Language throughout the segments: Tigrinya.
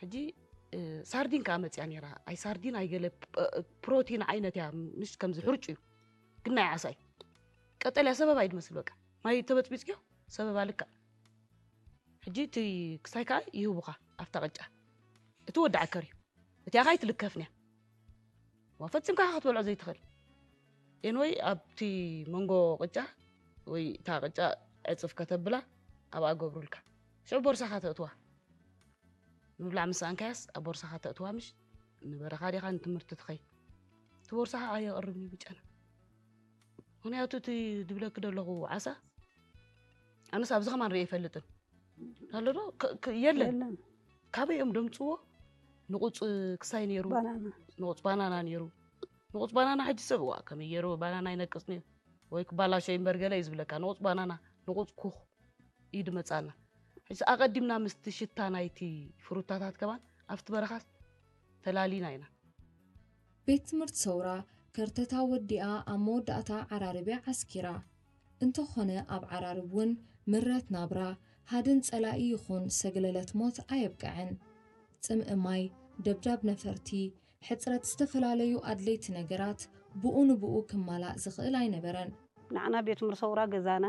ሕጂ ሳርዲን ከዓ መፅያ ነይራ። ኣይ ሳርዲን ኣይገለ ፕሮቲን ዓይነት እያ፣ ምሽ ከምዚ ሕርጩ እዩ፣ ግን ናይ ዓሳ እዩ። ቀጠልያ ሰበባ እዩ ድመስል። በቃ ማይ ተበፅቢፅዮ ሰበባ ልክዕ። ሕጂ እቲ ክሳይ ከዓ ይህቡኻ ኣብታ ቅጫ። እቲ ወዲ ዓከር እዩ፣ እቲኣ ከዓ ኣይትልከፍን እያ። ዋ ፈፂምካ ክትበልዖ ዘይትኽእል። ኤንወይ ኣብቲ መንጎ ቅጫ ወይ እታ ቅጫ ዕፅፍ ከተብላ ኣብኣ ገብሩልካ። ሽዑ ቦርሳኻ ተእትዋ። ምብላዕ ምስ ሰኣንካያስ ኣብ ቦርሳኻ ተእትዋ፣ ምሽ ንበረኻ ዲኻ ንትምህርቲ ትኸይ፣ እቲ ቦርሳኻ ኣየቕርብን እዩ ብጨና። ምኽንያቱ እቲ ድብለኪ ዘለኹ ዓሳ ኣነስ ኣብዚ ከማን ርኢ ኣይፈልጥን። ኣሎ ዶ የለን። ካበይ እዮም ደምፅዎ? ንቑፅ ክሳይ ነይሩ፣ ንቑፅ ባናና ነይሩ። ንቑፅ ባናና ሕጂ ሰብ ዋ ከመይ ገይሩ ባናና ይነቅፅ ነይሩ ወይ ክባላሾ ይንበር ገለ እዩ ዝብለካ። ንቑፅ ባናና፣ ንቑፅ ኩኽ እዩ ድመፃና። ሕጂ ኣቐዲምና ምስቲ ሽታ ናይቲ ፍሩታታት ከማን ኣብቲ በረኻስ ተላሊና ኢና። ቤት ትምህርቲ ሰውራ ከርተታ ወዲኣ ኣብ መወዳእታ ዓራርብያ ዓስኪራ። እንተኾነ ኣብ ዓራርብ እውን ምረት ናብራ፣ ሃድን ጸላኢ ይኹን ሰግለለት ሞት ኣየብቅዐን። ጽምእ ማይ፣ ደብዳብ ነፈርቲ፣ ሕጽረት ዝተፈላለዩ ኣድለይቲ ነገራት ብኡ ንብኡ ክማላእ ዝኽእል ኣይነበረን። ንዓና ቤት ትምህርቲ ሰውራ ገዛና፣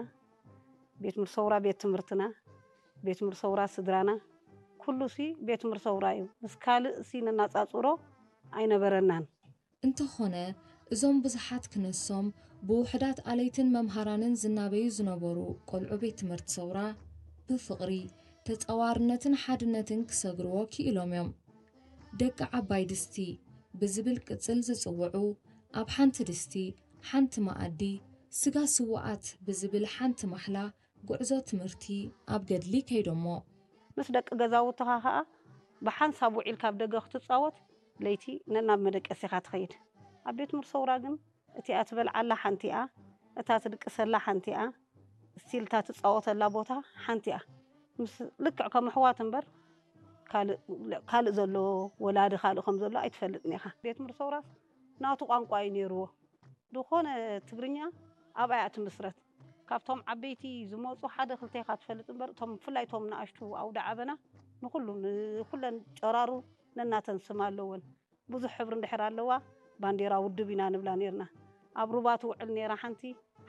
ቤት ትምህርቲ ሰውራ ቤት ትምህርትና፣ ቤት ትምህርቲ ሰውራ ስድራና፣ ኩሉ ሲ ቤት ትምህርቲ ሰውራ እዩ። ምስ ካልእ ሲ ነናጻጽሮ ኣይነበረናን። እንተኾነ እዞም ብዙሓት ክነሶም ብውሑዳት ኣለይትን መምሃራንን ዝናበዩ ዝነበሩ ቆልዑ ቤት ትምህርቲ ሰውራ ብፍቕሪ፣ ተጻዋርነትን ሓድነትን ክሰግርዎ ክኢሎም እዮም። ደቂ ዓባይ ድስቲ ብዝብል ቅጽል ዝጽውዑ ኣብ ሓንቲ ድስቲ ሓንቲ መኣዲ ስጋ ስውኣት ብዝብል ሓንቲ ማሕላ ጉዕዞ ትምህርቲ ኣብ ገድሊ ከይዶሞ። ምስ ደቂ ገዛውትኻ ኸኣ ብሓንሳብ ውዒልካ ኣብ ደገ ክትጻወት ለይቲ ነናብ መደቀሲኻ ትኸይድ። ኣብ ቤት ትምህርቲ ሰውራ ግን እቲኣ ትበልዓላ ሓንቲ እያ፣ እታ ትድቅሰላ ሓንቲ እያ፣ ስቲል እታ ትጻወተላ ቦታ ሓንቲ እያ። ምስ ልክዕ ከም ኣሕዋት እምበር ካልእ ዘሎ ወላዲ ካልእ ከም ዘሎ ኣይትፈልጥን ኢኻ። ቤት ትምህርቲ ሰውራስ ናቱ ቋንቋ እዩ ነይርዎ። ዝኾነ ትግርኛ ኣብኣ እያ ትምስረት። ካብቶም ዓበይቲ ዝመፁ ሓደ ክልተ ኢኻ ትፈልጥ እምበር እቶም ብፍላይ እቶም ንኣሽቱ ኣውደ ዓበና ንኩሉ ንኩለን ጨራሩ ነናተን ስም ኣለወን። ብዙሕ ሕብሪ እንድሕር ኣለዋ ባንዴራ ውድብ ኢና ንብላ ነይርና። ኣብ ሩባ ትውዕል ነይራ ሓንቲ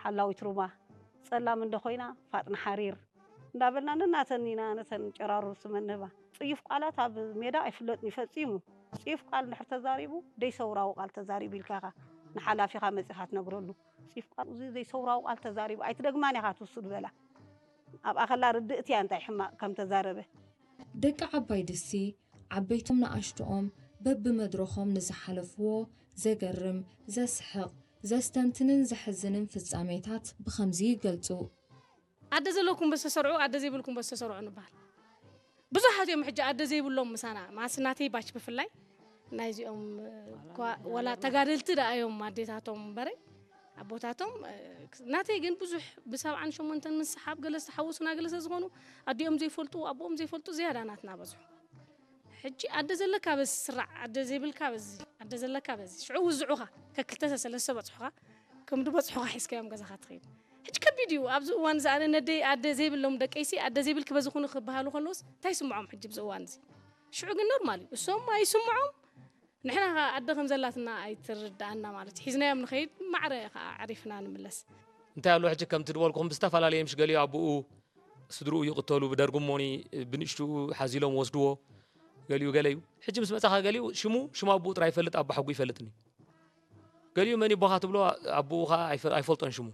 ሓላዊት ሩባ፣ ፀላም እንደ ኮይና ፋጥን ሓሪር እንዳበልና ነናተን ኢና ነተን ጨራሩ ስመን ንህባ። ፅዩፍ ቃላት ኣብ ሜዳ ኣይፍለጥን እዩ ፈፂሙ። ፅዩፍ ቃል እንድሕር ተዛሪቡ ደይሰውራዊ ቃል ተዛሪቡ ኢልካ ኢኻ ንሓላፊኻ መፂኻ ትነግረሉ። ፅዩፍ ቃል እዚ ዘይሰውራዊ ቃል ተዛሪቡ ኣይትደግማን ኢኻ ትውስድ በላ። ኣብኣ ከላ ርድእቲ እያ እንታይ ሕማቕ ከም ተዛረበ። ደቂ ዓባይ ድስቲ ዓበይቶም ንኣሽትኦም በብመድረኾም ንዝሓለፍዎ ዘገርም፣ ዘስሕቕ፣ ዘስተንትንን ዘሕዝንን ፍጻሜታት ብኸምዚ ይገልጹ። ኣደ ዘለኩም በዝተሰርዑ ኣደ ዘይብልኩም በዝተሰርዑ ንበሃል። ብዙሓት እዮም ሕጂ ኣደ ዘይብሎም ምሳና ማስ ናተይ ባች ብፍላይ ናይዚኦም እኳ ወላ ተጋደልቲ ደኣ እዮም ኣዴታቶም እምበረይ ኣቦታቶም ናተይ ግን ብዙሕ ብሰብዓን ሸሞንተን ምስ ሰሓብ ገለ ዝተሓወሱና ገለ ስለዝኾኑ ኣዲኦም ዘይፈልጡ ኣቦኦም ዘይፈልጡ ዝያዳ ናትና በዝሑ። ሕጂ ኣደ ዘለካ በዚ ስራዕ ኣደ ዘይብልካ በዚ ኣደ ዘለካ በዚ ሽዑ ውዝዑኻ ከክልተ ሰለስተ በፅሑኻ ከም ድበፅሑኻ ሒዝካዮም ገዛኻ ትኸይድ። ሕጂ ከቢድ እዩ ኣብዚ እዋን እዚ ኣነ ነደይ ኣደ ዘይብሎም ደቀይሲ ኣደ ዘይብልኪ በዚ ኩኒ ክበሃሉ ከለውስ እንታይ ይስምዖም ሕጂ ኣብዚ እዋን እዚ? ሽዑ ግን ኖርማል እዩ እሶም ኣይስምዖም። ንሕና ከ ኣደ ከም ዘላትና ኣይትርድኣና ማለት እዩ። ሒዝናዮም ንኸይድ ማዕረ ከኣ ኣዕሪፍና ንምለስ። እንታይ ኣሎ ሕጂ ከምቲ ዝበልኩኹም ብዝተፈላለየ ምሽ ገሊኡ ኣቦኡ ስድርኡ ይቕተሉ ብደርጊ እሞኒ ብንእሽትኡ ሓዚሎም ወስድዎ ገሊኡ ገለ እዩ። ሕጂ ምስ መጻኻ ገሊኡ ሽሙ ሽም ኣቦኡ ጥራይ ይፈልጥ ኣቦ ሓጉ ይፈልጥኒ። ገሊኡ መን ይቦኻ ትብሎ ኣቦኡ ከኣ ኣይፈ- ኣይፈልጦን ሽሙ።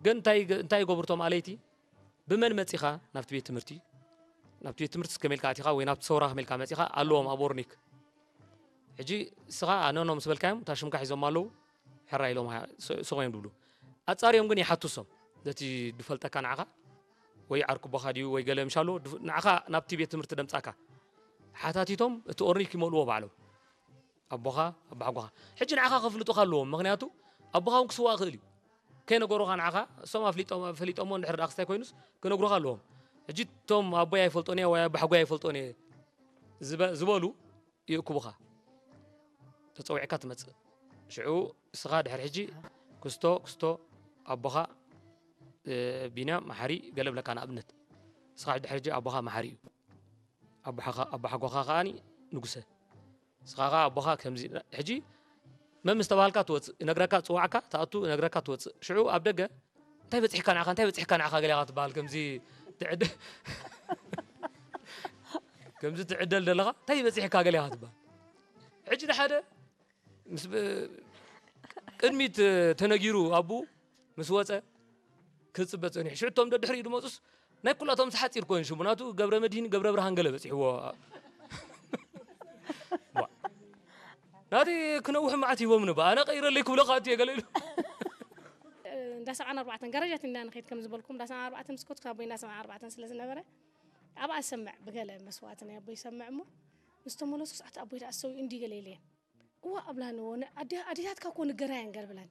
ግን እንታይ ይገ- እንታይ ይገብሩ እቶም ኣለይቲ ብመን መጺኻ ናብቲ ቤት ትምህርቲ ናብቲ ቤት ትምህርቲ ከመልካ ኣቲኻ ወይ ናብቲ ሰውራ ከመልካ መጺኻ ኣለዎም ኣብ ኦርኒክ ሕጂ እስኻ ኣነኖ ምስ በልካዮም እታ ሽምካ ሒዞም ኣለዉ ሕራ ኢሎም ስቕ እዮም ድብሉ ኣጻርዮም ግን ይሓቱ እሶም ነቲ ድፈልጠካ ንዓኻ ወይ ዓርኩቦኻ ድዩ ወይ ገለ ምሻሎ ንዓኻ ናብቲ ቤት ትምህርቲ ደምጻካ ሓታቲቶም እቲ ኦርኒክ ይመልዎ ባዕሎም ኣቦኻ ኣባሓጎኻ ሕጂ ንዓኻ ከፍልጡኻ ኣለዎም ምኽንያቱ ኣቦኻ እውን ክስዋእ ይኽእል እዩ ከይነገሩኻ ንዓኻ እሶም ኣፍሊጦም ፈሊጦሞ እንድሕር ደኣ ክስታይ ኮይኑስ ክነግሩኻ ኣለዎም ሕጂ እቶም ኣቦይ ኣይፈልጦን እየ ወይ ኣባሓጎይ ኣይፈልጦን እየ ዝበ- ዝበሉ ይእክቡኻ ተፀዊዕካ ትመፅእ ሽዑ እስኻ ድሕሪ ሕጂ ክስቶ ክስቶ ኣቦኻ እ፣ ቢንያም መሓሪ ገለ ብለካ ንኣብነት እስኻ ድሕሪ ሕጂ ኣቦኻ መሓሪ እዩ ኣቦሓኻ ኣቦሓጎኻ ከኣኒ ንጉሰ። ንስኻ ከኣ ኣቦኻ ከምዚ ሕጂ መን ምስ ተባሃልካ ትወጽእ፣ እነግረካ፣ ጽዋዕካ፣ ትኣቱ፣ እነግረካ፣ ትወጽእ። ሽዑ ኣብ ደገ "እንታይ በጺሕካ ንዓኻ፣ እንታይ በጺሕካ ንዓኻ?" ገለ ኢኻ ትበሃል። ከምዚ ትዕደ-፣ ከምዚ ትዕደል ዘለኻ፣ "እንታይ በጺሕካ?" ገለ ኢኻ ትበሃል። ሕጂ ንሓደ ምስ ብ-፣ ቅድሚት ተነጊሩ ኣቡ ምስ ወጸ ክጽበ ጸኒሑ። ሽዑ እቶም ደድሕሪኡ ዝመጹስ ናይ ኩላቶም ሓጺር ኮይኑ ሽሙ ናቱ ገብረ መድህን ገብረ ብርሃን ገለ በጺሕዎ። ዋ። ናተይ ክነውሕ መዓት ሂቦምኒ፣ ብኣነ ቀይረለይ ክብለካ ኣትየ ገለ ኢሉ። እንዳ ሰብዓን ኣርባዕተን ጋራጃት ኢና ንኸይድ ከም ዝበልኩም፣ እንዳ ሰብዓን ኣርባዕተን ምስ ከድኩ ኣቦይ እንዳ ሰብዓን ኣርባዕተን ስለ ዝነበረ ኣብኣ ሰምዕ ብገለ መስዋእቲ ናይ ኣቦይ ሰምዕ እሞ ምስ ተመለስኩ ሰዓት ኣቦይ ደኣ ሰው እንዲ ገለ ኢለየን። እዋ ኣብላኒ እዎ ኣዴታትካ እኮ ንገራየን ገለ ብላኒ።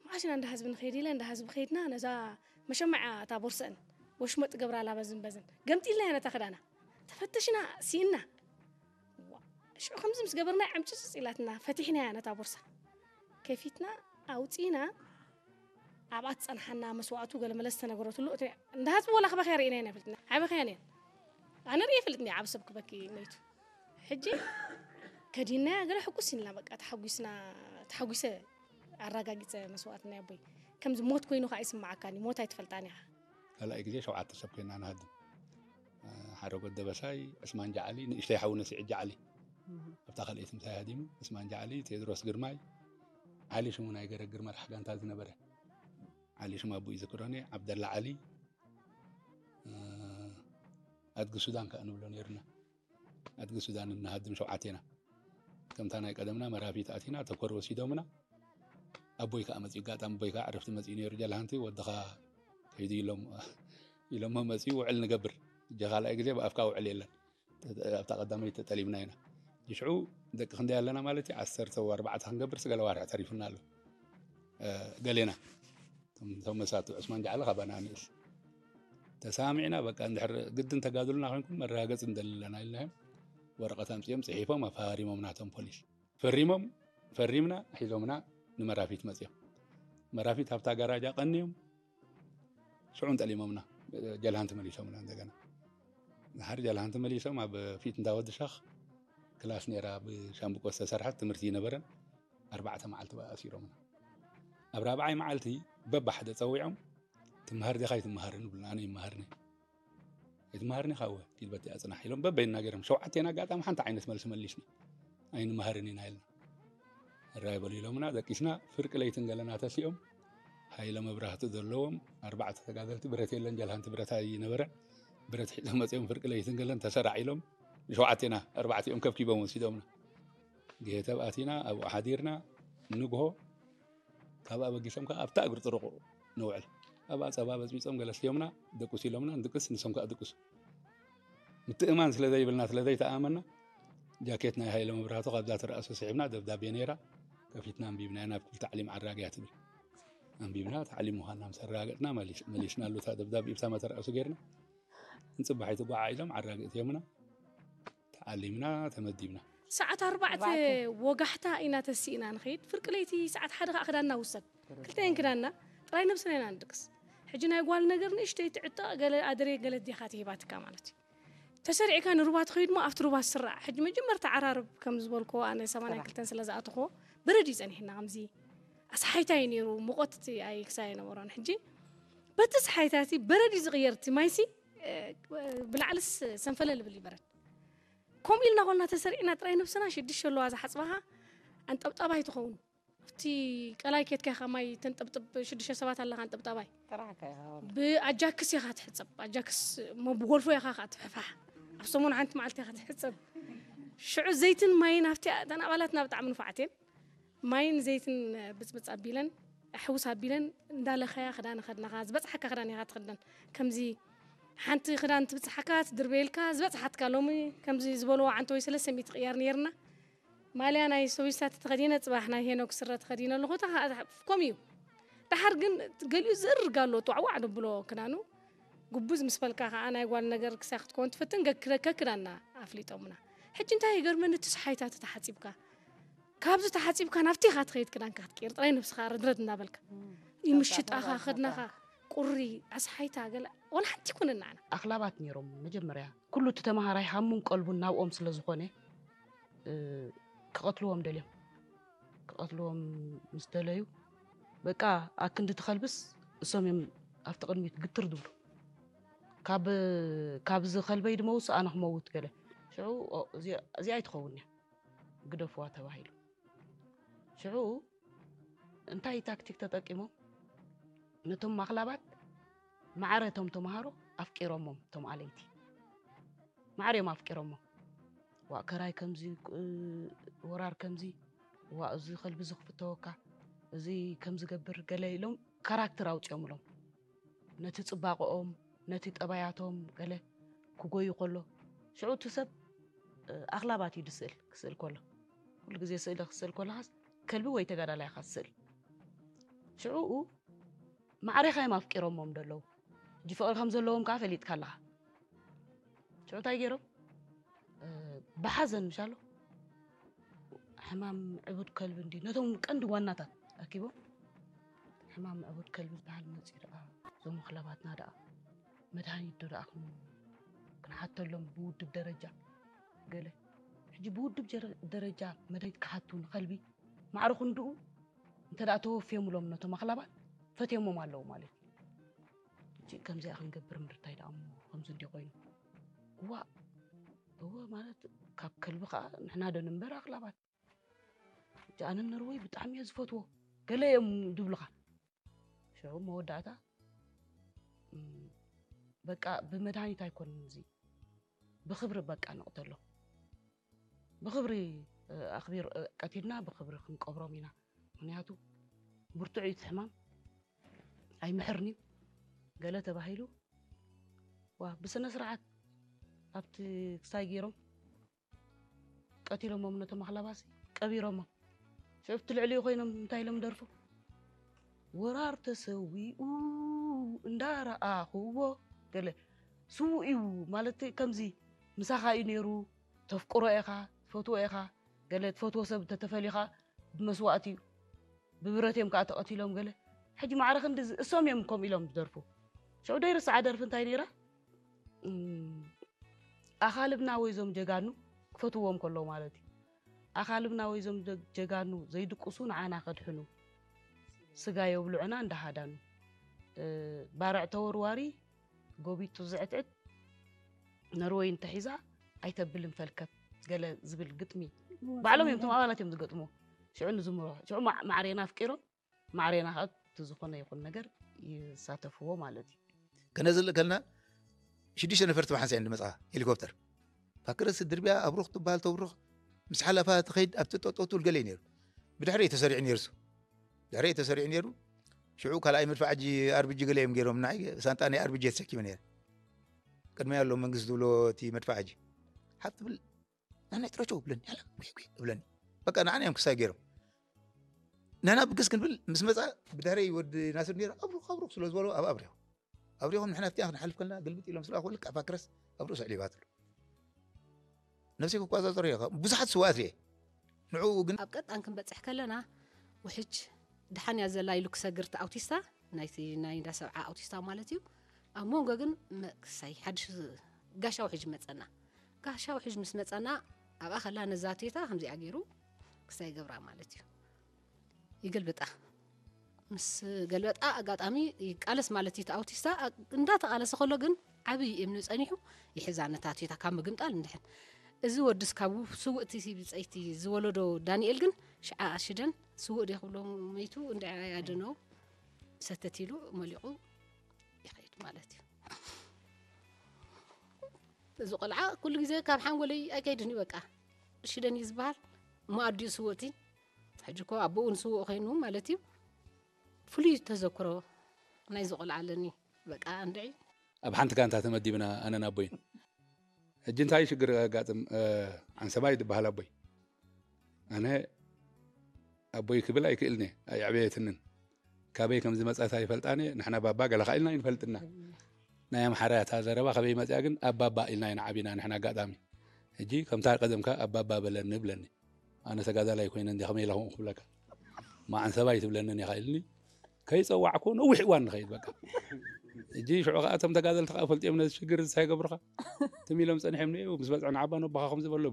መዓስ ኢና እንዳ ህዝቢ ንኸይድ ኢለ እንዳ ህዝቢ ከይድና ነዛ መሸማዕ እያ እታ ቦርሰአን ወሽመጥ ገብራላ በዝን በዝን ገምጢልናያ ነታ ክዳና ተፈተሽና ስኢና። ሽዑ ከምዚ ምስ ገበርና ዕምጭጭ ኢላትና ፈቲሕናያ ነታ ቦርሳ ከፊትና ኣውፂና ኣብኣ ትፀንሓና መስዋእቱ ገለ መለ ዝተነገረትሉ እቲ እንዳ ህዝቢ ወላ ክበኽያ ርኢና ኢና ይፈልጥና ኣይበኽያን እየን ኣነ ርእ ይፈልጥኒ ዓብ ሰብ ክበኪ መይቱ ሕጂ ከዲናያ ገለ ሕጉስ ኢልና በቃ ተሓጒስና ተሓጒሰ ኣራጋጊፀ መስዋእትና ኣቦይ ከምዚ ሞት ኮይኑ ከዓ ይስማዓካኒ ሞት ኣይትፈልጣን ኢኻ ካልኣይ ግዜ ሸውዓተ ሰብ ኮይና ንሃድም ሓደ ጎድ ደበሳይ ዕስማን ጃዓሊ ንእሽተይ ሓውነ ስዒድ ጃዓሊ ኣብታ ካልኣይቲ ምሳይ ሃዲሙ ዕስማን ጃዓሊ ቴድሮስ ግርማይ ዓሊ ሽሙ ናይ ገረግር መራሕ ጋንታ ዝነበረ ዓሊ ሽሙ ኣቦ ይዝክሮኒ ዓብደላ ዓሊ ኣድጊ ሱዳን ከዓ ንብሎ ነይርና ኣድጊ ሱዳን እናሃድም ሸውዓቴና ከምታ ናይ ቀደምና መራፊት ኣቲና ተኮር ወሲዶምና ኣቦይ ከዓ መፅኡ ኣጋጣሚ ኣቦይ ከዓ ዕረፍቲ መፅኡ ነይሩ ጀልሃንቲ ወድኻ ከይዱ ኢሎም ኢሎሞ መፅኡ ውዕል ንገብር እጀ ካልኣይ ግዜ ብኣፍካ ውዕል የለን ኣብታ ቀዳመይቲ ተጠሊብና ኢና ሽዑ ደቂ ክንደይ ኣለና ማለት እዩ ዓሰርተ ኣርባዕተ ክንገብር ስገለ ዋርሒ ተሪፉና ኣሎ ገሌና እቶም መሳቱ ዕስማን ጃዕሊ ካባና ንእስ ተሳሚዕና በቃ እንድሕር ግድን ተጋድሉና ኮይንኩም መረጋገፂ ንደሊ ኣለና ኢልናዮም ወረቐት ኣምፅኦም ፅሒፎም ኣፈራሪሞም ናቶም ፖሊስ ፈሪሞም ፈሪምና ሒዞምና ንመራፊት መፅኦም መራፊት ኣብታ ጋራጃ ቀንዮም ሽዑ እንጠሊሞምና ጀልሃን ተመሊሶምና እንደገና ድሓር ጀልሃን ተመሊሶም ኣብ ፊት እንዳወዲ ሻኽ ክላስ ነይራ ብሻምብቆ ዝተሰርሐት ትምህርቲ ይነበረን ኣርባዕተ መዓልቲ በኣሲሮምና ኣብ ራብዓይ መዓልቲ በባሓደ ፀዊዖም ትመሃር ዲኻ ይትመሃርን ይብሉና ኣነ ይመሃርኒ ኣይትመሃርኒ ኢኻ እወ ኪድ በቲ ኣፅናሕ ኢሎም በበይና ገይሮም ሸውዓቴና ኣጋጣሚ ሓንቲ ዓይነት መልሲ መሊስና ኣይንመሃርን ኢና ኢልና ራይ በሉ ኢሎምና ደቂስና ፍርቂ ለይትን ገለና ተሲኦም ሃይለ መብራህቲ ዘለዎም ኣርባዕተ ተጋደልቲ ብረት የለን ጀልሃንቲ ብረት ኣይነበረን ብረት ሒዞም መፅኦም ፍርቂ ለይትን ገለን ተሰራዕ ኢሎም ንሸውዓቴና ኣርባዕቲኦም ከብኪቦም ወሲዶምና ጌተብ ኣቲና ኣብኡ ሓዲርና ንግሆ ካብ ኣበጊሶም ከዓ ኣብታ እግሪ ጥርቑ ንውዕል ኣብኣ ፀባ በፅቢፆም ገለ ስዮምና ድቁስ ኢሎምና ንድቅስ ንሶም ከዓ ድቅሱ ምትእማን ስለ ዘይብልና ስለ ዘይተኣመና ጃኬት ናይ ሃይለ መብራህቱ ካብዛ ትረኣሱ ስሒብና ደብዳቤ ነይራ ከፊትና ኣንቢብናያ ናብ ክፍሊ ታዕሊም ዓራግያ ትብል ኣንቢብና ታዕሊም ምዃንና ምስ ኣረጋገጥና መሊስናሉ እታ ደብዳቤ ብታ መተረኣሱ ገይርና ንፅባሒቲ ጓዓ ኢሎም ዓራግእት እዮምና ተዓሊምና ተመዲብና። ሰዓት ኣርባዕተ ወጋሕታ ኢና ተሲእና ንኸይድ ፍርቂ ለይቲ ሰዓት ሓደ ከዓ ክዳንና ውሰድ ክልተየን ክዳንና ጥራይ ነብስና ኢና ንድቅስ ሕጂ ናይ ጓል ነገር ንእሽተይ ትዕጠቕ ገለ ኣደሬ ገለ ዲኻ ትሂባትካ ማለት እዩ ተሰሪዕካ ንሩባ ትኸይድ ሞ ኣብቲ ሩባ ዝስራዕ ሕጂ መጀመርታ ዓራርብ ከም ዝበልክዎ ኣነ ሰማንያ ክልተን ስለ ዝኣተኽዎ በረድ እዩ ጸኒሕና ከምዚ ኣስሓይታ እዩ ነይሩ ሙቐት እቲ ኣይ ክሳይ ኣይነበሮን ሕጂ በቲ ስሓይታ እቲ በረድ እዩ ዝቕየር እቲ ማይሲ ብላዕልስ ሰንፈለል ይብል ይበረድ ከምኡ ኢልና ኮልና ተሰሪዕና ጥራይ ነብስና ሽድሽተ ኣለዋ ዝሓፅባኻ ኣንጠብጣባይ ትኸውን ኣብቲ ቀላይ ኬድካ ኢኻ ማይ ተንጠብጥብ ሽዱሽተ ሰባት ኣለኻ ኣንጠብጣባይ ጥራሕካ ኢኻ ወላ ብኣጃክስ ኢኻ ትሕፀብ ኣጃክስ እሞ ብጎልፎ ኢኻ ከዓ ትሕፋሕ ኣብ ሰሙን ሓንቲ መዓልቲ ኢኻ ትሕፀብ ሽዑ ዘይትን ማይን ኣብቲ እተን ኣባላትና ብጣዕሚ ንፉዓት እየን ማይን ዘይትን ብፅብፅ ኣቢለን ኣሕውስ ኣቢለን እንዳለኸያ ክዳን ከድነኻ ዝበፅሓካ ክዳን ኢኻ ትኽደን ከምዚ ሓንቲ ክዳን ትብፅሓካ ትድርበየልካ ዝበፅሓትካ ሎሚ ከምዚ ዝበልዎ ዓንተ ወይ ሰለስተ ሚእቲ ቅያር ነይርና ማልያ ናይ ሰዊሳ ተተኸዲነ ፅባሕ ናይ ሄኖክ ስረ ተኸዲነ ኣለኹ እታ ከዓ ከምኡ እዩ ደሓር ግን ገሊኡ ዝእርግ ኣሎ ጧዕዋዕ ደብሎ ክዳኑ ጉቡዝ ምስ በልካ ከዓ ናይ ጓል ነገር ክሳይ ክትከውን ትፍትን ገክረከ ክዳና ኣፍሊጦምና ሕጂ እንታይ ይገርመኒ እቲ ሰሓይታት ተሓፂብካ ካብዚ ተሓፂብካ ናብቲ ኢኻ ትኸይድ ክዳንካ ክትቅይር ጥራይ ነብስኻ ርድረድ እናበልካ ይምሽጣኻ ከድናኻ ቁሪ ኣስሓይታ ገለ ዋላ ሓንቲ ይኩንን ንዓና። ኣኽላባት ነይሮም። መጀመርያ ኩሉ እቲ ተምሃራይ ሃሙን ቀልቡን ናብኦም ስለ ዝኾነ፣ እ፣ ክቐትልዎም ደልዮም። ክቐትልዎም ምስ ደለዩ፣ በቃ ኣክንዲ ትኸልብስ እሶም እዮም ኣብቲ ቅድሚት ግትር ዝብሉ። ካብ፣ ካብ ዝኸልበይ ድመውስ ኣነ ክመውት ገለ። ሽዑ፣ "ኦ፣ እዚ-፣ እዚኣ ኣይትኸውን እያ፣ ግደፍዋ" ተባሂሉ። ሽዑ እንታይ ታክቲክ ተጠቂሞም? ነቶም ኣኽላባት ማዕረ እቶም ተምሃሮ ኣፍቂሮሞም፣ እቶም ኣለይቲ ማዕረ እዮም ኣፍቂሮሞም። "ዋእ ከራይ ከምዚ፣ እ፣ ወራር ከምዚ፣ ዋእ እዚ ከልቢ እዚ ክፍተወካ፣ እዚ ከምዚ ገብር" ገለ ኢሎም ካራክተር ኣውፂኦምሎም። ነቲ ፅባቐኦም፣ ነቲ ጠባያቶም ገለ ክጎዩ ከሎ፣ ሽዑ እቲ ሰብ፣ እ፣ ኣኽላባት እዩ ዝስእል፣ ክስእል ከሎ። ኩሉ ግዜ ስእሊ ክስእል ከለኻስ ከልቢ ወይ ተጋዳላይ ኢኻ ትስእል። ሽዑኡ ማዕሬኻ እዮም ኣፍቂሮሞም ደለዉ። ሕጂ ፍቕሪ ከም ዘለዎም ከኣ ፈሊጥካ ኣለኻ። ሽዑ እንታይ ገይሮም? እ፣ ብሓዘን ምሻሎ፣ ሕማም ዕቡድ ከልቢ እንዲ ነቶም ቀንዲ ዋናታት ኣኪቦም፣ ሕማም ዕቡድ ከልቢ ዝበሃል መፂኡ ደኣ፣ እዞም ኣኽላባትና ደኣ መድሃኒት ዶ ደኣ ክን-፣ ክንሓተሎም ብውድብ ደረጃ ገለ። ሕጂ ብውድብ ጀረ-፣ ደረጃ መድሃኒት ክሓቱ ንኸልቢ ማዕረ ክንድኡ እንተ ደኣ ተወፍዮምሎም ነቶም ኣኽላባት ፈትዮሞም ኣለዉ ማለት እዩ። ሕጂ ከምዚኣ ክንገብር ምርታይ ደኣ እሞ ከምዚ እንዲ ኮይኑ። እዋ፣ እወ ማለት ካብ ከልቢ ኸኣ ንሕና ዶ ንንበር ኣኽላባት። ሕጂ ኣነ ነርወይ ብጣዕሚ እየ ዝፈትዎ። ገለ እዮም ድብሉኻ። ሽዑ መወዳእታ፣ እም፣ በቃ ብመድሃኒት ኣይኮንን እዚ። ብኽብሪ በቃ ንቕተሎ። ብኽብሪ፣ እ፣ ኣኽቢር፣ እ፣ ቀቲልና ብኽብሪ ክንቀብሮም ኢና። ምኽንያቱ ብርቱዕ እዩ እቲ ሕማም። ኣይምሕርን እዩ። ገለ ተባሂሉ። ዋ፣ ብስነ ስርዓት ኣብቲ ክሳይ ገይሮም ቀቲሎሞም ነቶም ኣኽላባሲ ቀቢሮሞም። ሽዑ ኣብቲ ልዕሊኡ ኮይኖም እንታይ ኢሎም ደርፉ? "ወራር ተሰዊኡ እንዳረኣኽዎ" ገለ። ስዉእ እዩ ማለት ከምዚ ምሳኻ እዩ ነይሩ፣ ተፍቅሮ ኢኻ፣ ትፈትዎ ኢኻ፣ ገለ ትፈትዎ ሰብ እንተተፈልዩ ኸኣ ብመስዋእቲ እዩ። ብብረት እዮም ከኣ ተቐቲሎም ገለ። ሕጂ ማዕረ ክንዲ ዝ-፣ እሶም እዮም ከምኡ ኢሎም ዝደርፉ። ሽዑ ደይርስዓ ደርፊ እንታይ ነይራ? እም፣ ኣኻልብና ወይ ዞም ጀጋኑ ክፈትዎም ከለዉ ማለት እዩ። ኣኻልብና ወይ ዞም ጀ-፣ ጀጋኑ ዘይድቅሱ ንዓና ከድሕኑ፣ ስጋ የብልዑና እንዳሃዳኑ። እ፣ ባርዕ ተወርዋሪ፣ ጎቢጡ ዝዕትዕት፣ ነርወይ እንተሒዛ ኣይተብልን ፈልከት፣ ገለ ዝብል ግጥሚ። ባዕሎም እዮም፣ እቶም ኣባላት እዮም ዝገጥምዎ። ሽዑ ንዝምሮ። ሽዑ ማ-፣ ማዕሬና ኣፍቂሮም፣ ማዕሬና ከዓ እቲ ዝኾነ ይኹን ነገር ይሳተፍዎ ማለት እዩ። ከነዝልእ ከልና ሽዱሽተ ነፈርቲ ብሓንሳእ እየን ዝመጽኣ ሄሊኮፕተር። ፋክረስ ድርብያ ኣብሩኽ ትበሃል ተብሩኽ ምስ ሓለፋ ትኸይድ ኣብቲ ጠጠው ትብል ገለ እዩ ነይሩ። ብድሕሪ እዩ ተሰሪዑ ነይሩ እሱ። ድሕሪ እዩ ተሰሪዑ ነይሩ። ሽዑ ካልኣይ መድፍዓጂ ኣርቢጂ ገለ እዮም ገይሮም። ንዓይ ሳንጣ ናይ ኣርቢጂ እየ ተሰኪመ ነይረ። ቅድሚ ኣሎ መንግስቲ ዝብሎ እቲ መድፍዓጂ። ሓፍ ትብል፣ "ናናይ ጥረቸው" ብለኒ፣ "ያላ፣ ጒዕ፣ ጒዕ" ብለኒ። በቃ ንዓና እዮም ክሳይ ገይሮም። ናና ብግስ ክንብል ምስ መጻ ብድሕረይ ወዲ ናስር ነይሩ፣ "ኣብሩኽ፣ ኣብሩኽ" ስለ ዝበሎ ኣብ ኣብሪኹ። ኣብሪኹም ንሕና ኣብቲኣ ክንሓልፍ ከለና ግልብጥ ኢሎም ስለ ኣኽሉ ልክዕ ፋክረስ ኣብ ርእሱ ኣዕሊባትሉ። ነብሰይ ክቆጻጸሮ እየ። ብዙሓት ስውኣት ርኤ። ንዕኡ ግን ኣብ ቀጣን ክንበጽሕ ከለና ውሕጅ ደሓን እያ ዘላ ኢሉ ክሰግር እቲ ኣውቲስታ፣ ናይቲ ናይ እንዳ ሰብዓ ኣውቲስታ ማለት እዩ። ኣብ መንጎ ግን መ-፣ ክሳይ ሓድሽ ጋሻ ውሕጅ መጸና። ጋሻ ውሕጅ ምስ መጸና ኣብኣ ከላ ነዛ ቴታ ከምዚኣ ገይሩ ክሳይ ገብራ ማለት እዩ። ይገልብጣ። ምስ ገልበጣ ኣጋጣሚ ይቃለስ ማለት እዩ። እቲ ኣውቲስታ ኣ-፣ እንዳተቃለሰ ከሎ ግን ዓብዪ እምኒ ጸኒሑ ይሕዛ ነታ ቴታ ካብ ምግምጣል እንድሕን። እዚ ወድስ ካብ ስውእቲ ብጸይቲ ዝወለዶ ዳንኤል ግን ሽዓ ኣሽደን ስውእ ድየ ክብሎ መይቱ እንድዒ ኣያደነው ሰተት ኢሉ መሊቑ ይኸይድ ማለት እዩ። እዚ ቆልዓ ኩሉ ግዜ ካብ ሓንጎለይ ኣይከይድን እዩ በቃ። ሽደን እዩ ዝበሃል። እሞ ኣዲኡ ስውእቲ። ሕጂ እኮ ኣቦኡ ንስውእ ኮይኑ ማለት እዩ። ፍሉይ ተዘክሮ ናይዚ ቆልዓ ኣለኒ። በቃ እንድዒ። ኣብ ሓንቲ ጋንታ ተመዲብና ኣነን ኣቦይን። ሕጂ እንታይ ሽግር ኣጋጥም፣ እ፣ ዓንሰባ እዩ ዝበሃል ኣቦይ። ኣነ ኣቦይ ክብል ኣይክእልን እየ፣ ኣየዕበየትንን። ካበይ ከም ዝመጸት ኣይፈልጣን እየ። ንሕና ባባ ገለ ከኣ ኢልና ኣይንፈልጥና። ናይ ኣምሓራ እታ ዘረባ ካበይ መጽያ ግን ኣብ ባባ ኢልና ኢና ዓቢና ንሕና ኣጋጣሚ። ሕጂ ከምታ ቀደምካ ኣብ ባባ በለኒ ብለኒ። ኣነ ተጋዳላይ ኮይነ እንዲ ከመይ ኢለ ከምኡ ክብለካ? እማ ዓንሰባ ኣይትብለንን ኢኻ ኢልኒ። ከይጸዋዕኩ ነዊሕ እዋን ንኸይድ በቃ። እጂ ሽዑ ከኣ እቶም ተጋደልቲ ከኣ ፈልጥዮም ነዚ ሽግር እንታይ ገብሩኻ ትም ኢሎም ጸኒሖም ንኡ ምስ በጽዐ ንዓባ ነቦኻ ከም ዝበሎ